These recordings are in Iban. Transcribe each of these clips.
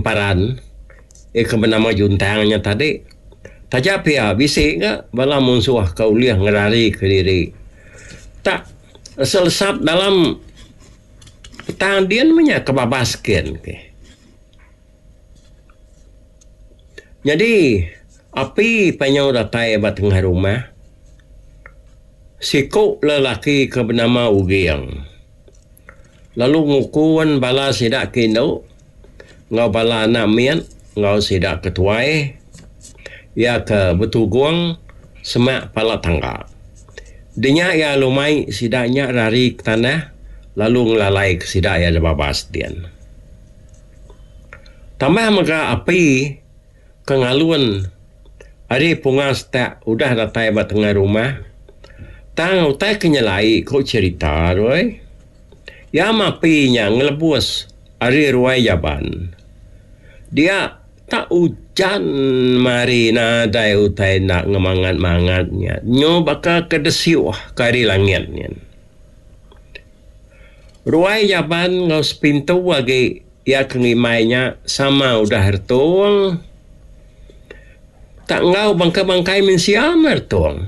Emparan iya ke benama Juntang nya tadi. Taja pia bisi ga bala munsuh ke ulih ngerarika diri tak lesap-lesap dalam petang din meh nya ke babas kin ke. Nyadi api panyu datai ba tengah rumah siku lelaki ke benama Uging lalu ngukun bala sida ke indu enggau bala anak mit enggau sida ke tuai iya ke betugung semak pala tangga. Dinya iya lalu mai sida nya rari ke tanah lalu ngelalai ke sida iya da babas din. Tambah mega api ke ngalun ari punga setak udah datai ba tengah rumah tang utai ke nyelai ku cherita tu ai. Iya meh api nya ngelebus ari ruai jaban. Dia tak ujan mari nadai utai enda ngemangat-mangat nya nyu baka ke desiuh ke ari langit nyin. Ruai jaban enggau sepintu agi iya ke ngimbai nya sama udah retung. Tak enggau bangkai-bangkai mensia meh retung.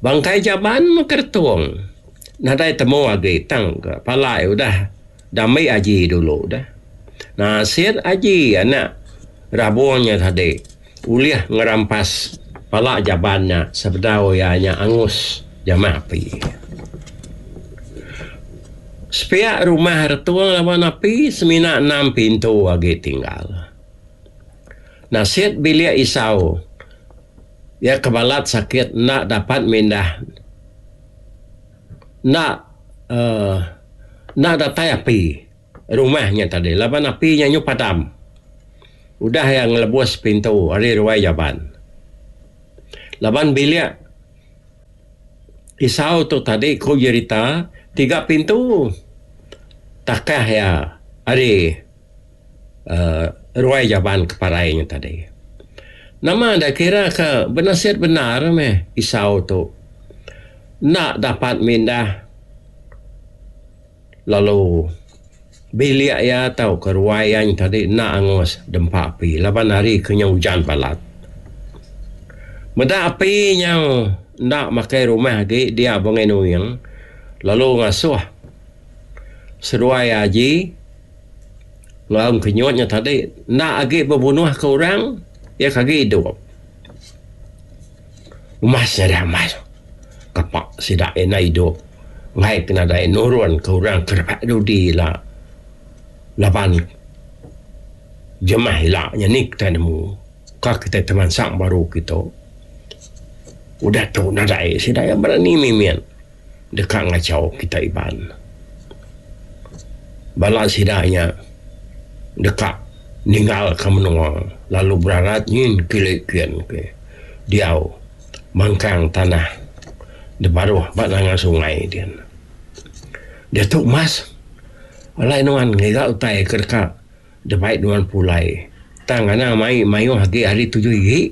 Bangkai jaban meh ke retung. Nadai temu agi tang ke pala iya udah dambi aji dulu dah. Nasit aji anak rabung nya tadi ulih ngerampas pala jaban nya sebedau iya nya angus jamah api. Sepiak rumah retung laban api semina enam pintu agi tinggal. Nasit bilik Isau iya ke balat sakit enda dapat mindah enda uhh enda datai api. Rumah nya tadi laban api nya nyu padam. Udah iya ngelebus pintu ari ruai jaban. Laban bilik Isau tu tadi ku jerita tiga pintu takah iya ari uhh ruai jaban ke parai nya tadi. Nama da kira ke benasit bendar meh Isau tu enda dapat mindah. Lalu bilik iya tauka ruai iya nya tadi enda angus dempa api laban hari ke nyau ujan balat. Meda api nyau enda makai rumah agi dia Bungai Nuing lalu ngasuh seduai aji enggau engkenyut nya tadi enda agi bebunuhka orang iya ke agi idup. Umas nya deh umas kapa sida enda idup. Enggai ke nadai nurun ke orang ke rebak dudi ila laban jemah ila nya ni kitai nemu ka kitai temansang baru kitu. Udah tu nadai sida iya berani mimit deka ngachau kitai Iban. Bala sida nya deka ninggalka menua lalu berarat nyin kili kin ke diau. Mangkang tanah da baruh ba nanga sungai din. Diatu mas alai nuan ngiga utai ke deka dibai nuan pulai tang anang mai mayuh agi ari tujuh igi.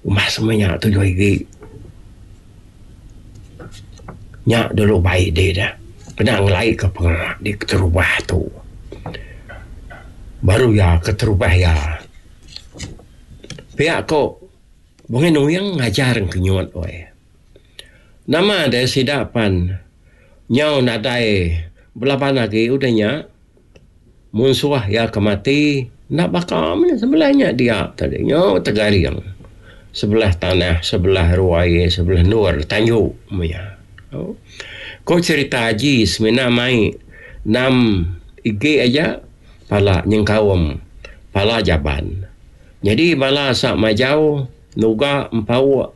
Umbas meh nya tujuh igi. Nya dulu bai dih dah kena ngelai ka pengawa di keterubah tu. Baru iya keterubah iya. Pia ko Bungai Nuing ngajar Engkenyut weh. Nama deh sida pan nyau nadai belaban agi udah nya munsuh iya ke mati enda baka meh sebelah nya dia tadi nyau tegaring sebelah tanah sebelah ruai sebelah endur tanju meh iya. Ko cherita aji semina mai enam igi aja pala nyengkaum pala jaban. Nyadi bala asa majau nuga empauk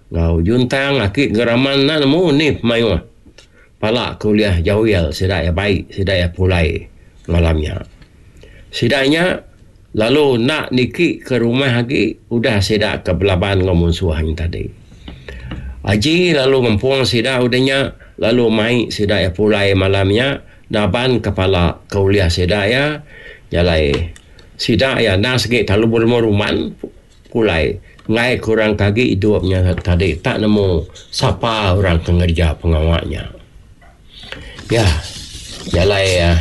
enggau juntang aki geraman enda nemu ni pemayuh pala ke ulih jawil sida iya bai sida iya pulai malam nya. Sida nya lalu enda niki ke rumah agi udah sida ke belaban enggau munsuh nya tadi. Aji lalu ngempung sida udah nya lalu mai sida iya pulai malam nya naban ke pala ke ulih sida iya jalai. Sida iya endang sigi terlalu berumban pulai enggai ke orang ke agi idup nya tadi tak nemu sapa orang ke ngereja pengawa nya. Ya jalai.